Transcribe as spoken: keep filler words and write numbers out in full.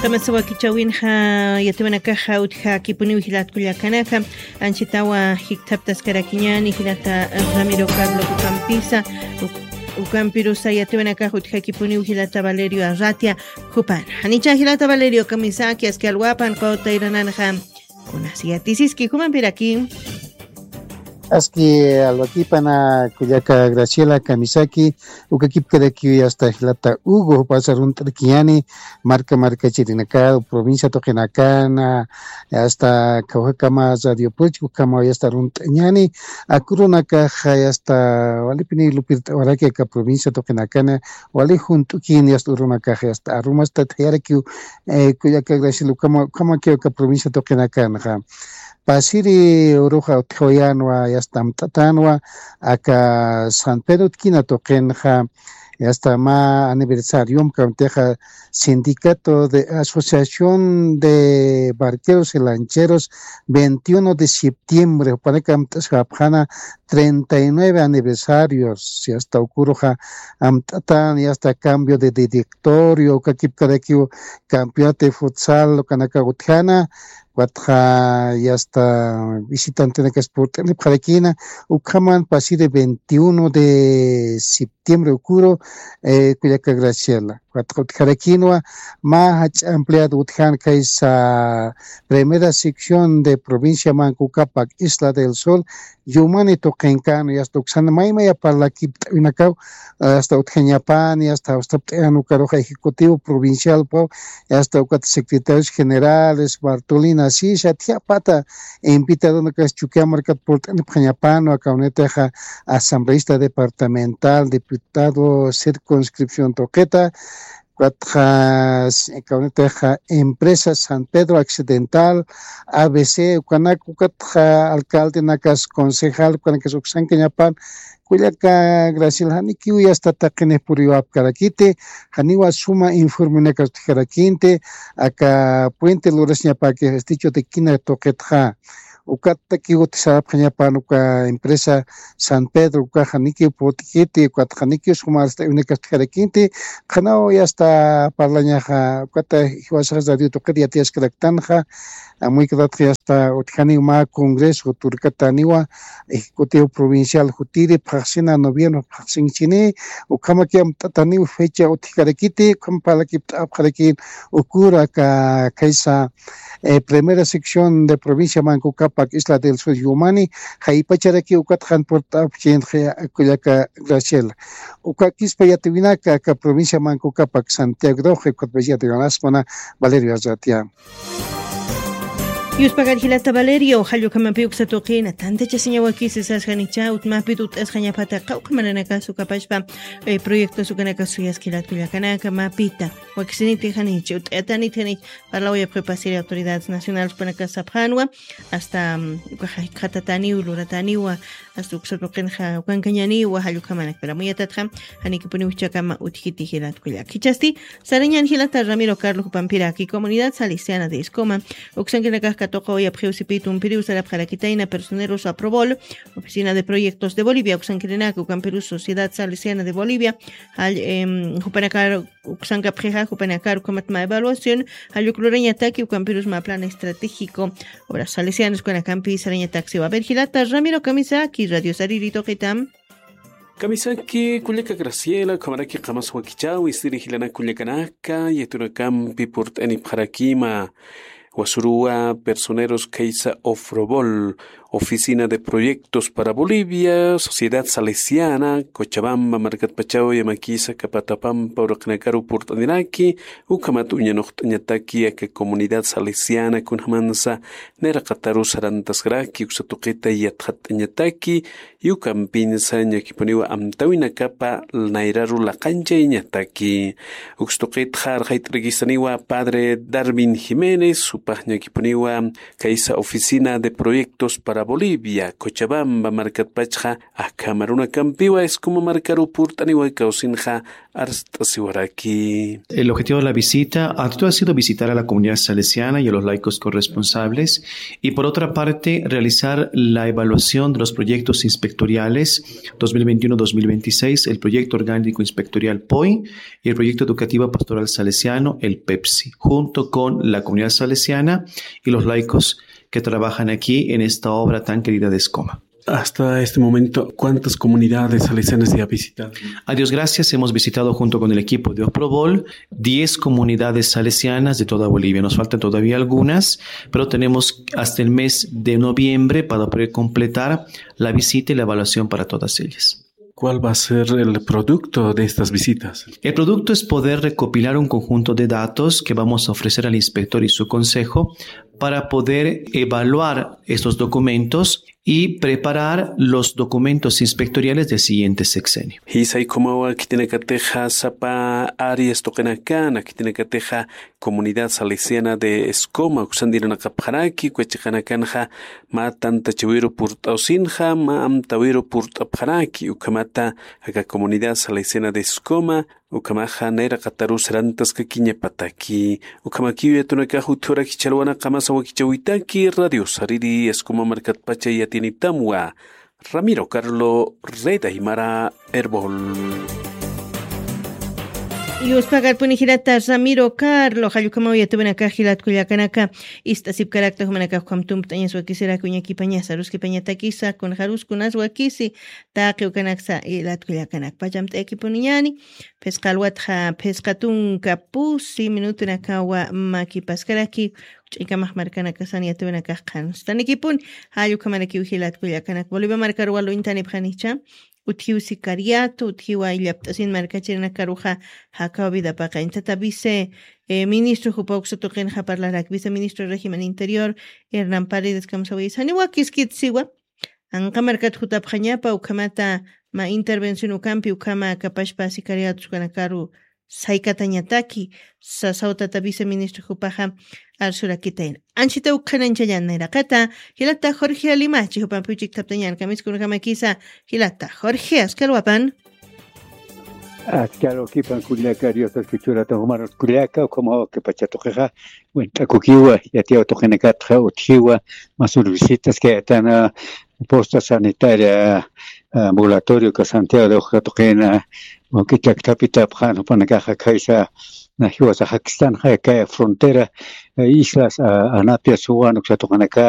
Kamasa wakichäwinxa yatiwanakaxa utjakipuniw jilat kullakanaka, anchitawa jikthaptaskarakiñäni jilata Ramiro Carlos ukampisa, uk-, ukampirusa yatiwanakax utjakipuniw jilata Valerio Arratia, jupan. Janicha jilata Valerio kamisaki aski alwapan qawtayrananxa. Kunas yatisiski jumampiraki. Aski alwakipana kullaka Graciela kamisaki, ukakipkarakiw yasta jilata Hugo, jupasa runt'arakiñäni, marka markachirinaka, provincia tuqinakana, yasta kawjakama Radio Puchka, ukhamaw yasta runt'añäni, aka urunakaxa yasta walipini lupirt'awaraki aka provincia tuqinakana, wali junt'ukïn yasta urunakaxa yasta arumasta thayarakiw, eh, kullaka Graciela, ukhama, ukhamakiw aka provincia tuqinakanxa. Pasiri uruxa utjawayänwa, yasta amt'atänwa, aka San Pedro utkina tuqinxa, yasta mä aniversariom, ukamtixa Sindicato de Asociación de Barqueros y Lancheros, veintiuno de septiembre, jupanaka amt'asxapxäna treinta y nueve aniversarios, yasta uka uruxa amt'atän, yasta cambio de directorio, ukakipkarakiw campeonato de futsal, ukanaka utjäna, ukatxa yasta visitantenakas purt'anipxarakïna, ukhaman pasiri veintiuno de septiembre uka uru, eh, kullaka Graciela. Ukatxa utjarakïnwa, mä jach'a empleado utjän kaysa primera sección de provincia Manco Cápac, Isla del Sol, Yumani tuqinkän, yasta uksan maymaya parlakipt'awinakaw, yasta utjañapäni, yasta jawstapt'ayan ukarux ejecutivo provincialpaw, yasta ukat secretarios generales, Bartolina Sisa, thiyapata invitadonakas Chukiyawu markat purt'anipxañapänwa, aka urunitixa asambleísta departamental, diputado circunscripción tuqita, ukatxa, kawkitix empresa San Pedro Accidental, A B C, ukanak, ukatxa alcaldenakas, concejal, ukanakas uksankañapan, kullaka Graciela, janikiw yasta taqinix puriwapkarakiti, janiwa suma informenakas utjarakïnti, aka puente lurasiñapäki, estrecho de Quina tuqitxa. Ukatakiw utjasarapxañapan uka empresa San Pedro, ukax janikiw purt'kiti, ukatxa janikiw suma arst'awinakas utjarakïnti, qhanaw yasta parlañaxa, ukata jiwasax radio tuqit yatiyaskaraktanxa, amuykatatxa yasta utjaniw mä congreso, turkatäniwa ejecutivo provincial jutiri, phaxsina noviembre phaxsinchini, ukhamaki amt'atäniw fecha utjkarakiti, ukham parlakipt'apxarakïn uka uru aka kaysa eh, primera sección de provincia Manco Cápac, Isla del Sur, Yumani, jaypacharaki ukat jan purt'apxi kullaka Graciela. Ukakispa yatiwinaka aka provincia Manco Cápac, Santiago de Oje, ukat yatiwinasmana Valerio Arratia. Yuspagar jilata Valerio, jallukamapi uksa tuqina, tantachasiñawakisi sasjanicha, utmapi tut'asjañapata, qawqha mananakas ukapashpa, eh, proyectos ukanakas suyaskilat kullakanaka, mapita, wakisiniti janichi, ut'atanit janichi, parlawayapxi pasiri autoridades nacionales panaka sapxänwa, hasta, mm, ukaxa jikxatatäniw, luratäniwa, hasta uksa tuqinxa ukankañäniwa, jallukhamanakpira. Muyatatxa, janikipuniw jichhakama utjkiti jilat kullaka. Jichhasti, sarañän jilata Ramiro Carlos jupampiraki, Comunidad Salesiana de Escoma, uksankirinakax katuqawayapxiw sipi tumpiriw sarapxarakitayna Personeros Aprobol, Oficina de Proyectos de Bolivia, uksankirinaka, ukampirus Sociedad Salesiana de Bolivia, jall-, em, jupanakar uksankapxixa, jupanakar ukhamat mä evaluación, jall uk lurañataki, ukampirus mä plan estratégico, obras salesianas ukanakampi sarañataksiwa. A ver, jilata Ramiro kamisaki, Radio Sariri tuqita. Kamisaki, kullaka Graciela, ukhamaraki qamas wakichäwi, ist'iri jilanak kullakanaka, yatunakampi purt'anipxarakima, wasuruwa, Personeros kaysa Ofrobol, Oficina de Proyectos para Bolivia, Sociedad Salesiana, Cochabamba markatpachaw yamakisa, Capatapampa uraqinakaru purt'aniraki, ukhamat uñanuqt'añataki aka Comunidad Salesiana kunjamansa nayraqataru sarantaskaraki, uksa tuqita yatxatt'añataki, ukampinsa ñakipuniwa amtawinakapa nayraru laqanchayañataki. Uksa tuqitxa arxayt'arakistaniwa Padre Darwin Jiménez, jupax ñakipuniwa kaysa Oficina de Proyectos para Bolivia, Cochabamba markatpachxa, akham arunakampiwa Escoma markaru purt'aniwa kawsinxa arst'asiwaraki. El objetivo de la visita, ante todo, ha sido visitar a la comunidad salesiana y a los laicos corresponsables, y por otra parte, realizar la evaluación de los proyectos inspectoriales dos mil veintiuno, dos mil veintiséis, el proyecto orgánico inspectorial poi y el proyecto educativo pastoral salesiano, el pepsi, junto con la comunidad salesiana y los laicos que trabajan aquí en esta obra tan querida de Escoma. Hasta este momento, ¿cuántas comunidades salesianas se ha visitado? A Dios gracias, hemos visitado junto con el equipo de Oprobol diez comunidades salesianas de toda Bolivia. Nos faltan todavía algunas, pero tenemos hasta el mes de noviembre para poder completar la visita y la evaluación para todas ellas. ¿Cuál va a ser el producto de estas visitas? El producto es poder recopilar un conjunto de datos que vamos a ofrecer al inspector y su consejo para poder evaluar estos documentos y preparar los documentos inspectoriales del siguiente sexenio. Jisay ukhamawa khitinakatixa sapa áreas tuqinakan, khitinakatixa comunidad salesiana de Escoma uksan irnaqapxaraki, uka chiqanakanxa mä tantachawiru purt'awsinxa, mä amtawiru purt'apxaraki, ukhamata aka comunidad salesiana de Escoma, ukhamaxa nayraqataru sarantaskakiñapataki. Ukhamakiw yatunakax utjuraki challwanaqamasa wakichäwitaki, Radio Sariri, Escoma markatpacha yatinitamwa. Ramiro Carlo, Red Aymara, Erbol. Yuspagarpuni jilata Ramiro Carlo, jall ukhamaw yatupinakax jilat kullakanaka, ist'asipkarakta jumanakax ukham tumpt'añas wakisiraki uñakipañasa, aruskipañatakisa, kunxarus kunas wakisi, taqi ukanaksa jilat kullakanaka. Pachamt'ayakipuniñani, phisqa alwatxa, phisqa tunka pusi minutunakawa makipaskaraki, ch'ikamax markanakasan yatupinakax qhanstanikipuni, jall ukhamarakiw jilat kullakanak. Bolivia markaruwa luñtanipxanicha, utjiw sicariato, utjiwa illapt'asin markachirinakaruxa jakaw vida paqañ. Tata vice, eh, ministro jupa uksa tuqinxa parlarak, viceministro régimen interior, Hernán Paredes kamsawaysa. Janiwa kiskit siwa, anqa markat jutapxañapa, ukhamata mä intervención ukampi, ukhama kapashpa sicariatos ukanakaru saykatañataki, sasaw tata viceministro jupaxa arsurakitayna. Anchita ukxananchañan nayraqata, jilata Jorge Limachi, jupampi uchiktaptañan, kamiskunakamkisa, jilata Jorge, askalwapan. Askalwakipan kullaka, Diosas kuchurata, jumar kullaka, ukhamaw kipacha tuqixa, wint'akukiwa, yatiyaw tuqinakatxa, utjiwa, masur visitas kayatana, posta sanitaria, ambulatorio ka Santiago de Oja tuqina, wawki llaktapi tapxan, jupanakaxa khaysa, na jiwasa jakistanxa, kay frontera, eh, islas, ah, Anapia, Suwan, uksa tuqinaka,